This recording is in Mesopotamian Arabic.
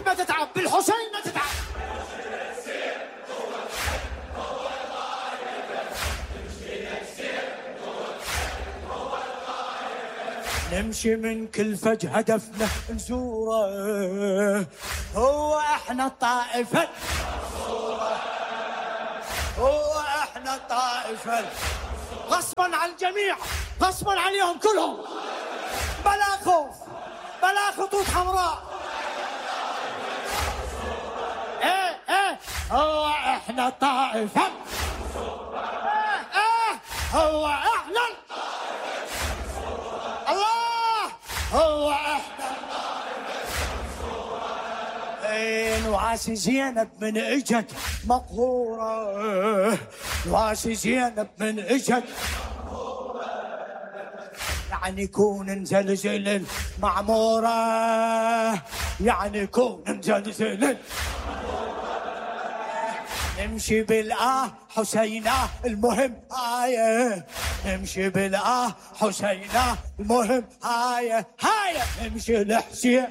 ما تتعب، بالحسين ما تتعب. نمشي من كل فج هدفنا نزوره، هو احنا الطائفة، هو احنا الطائفة. غصبا على الجميع، غصبا عليهم كلهم، بلا خوف بلا خطوط حمراء. ايه هو احنا الطائفة، هو احنا الله، هو احنا نواسي زينب من اجت مقهورة، نواسي زينب من اجت يعني يكون نزلزل المعمورة، يعني يكون نزلزل. نمشي حسينة المهم هاي، نمشي حسينة المهم هاي، نمشي الحسين.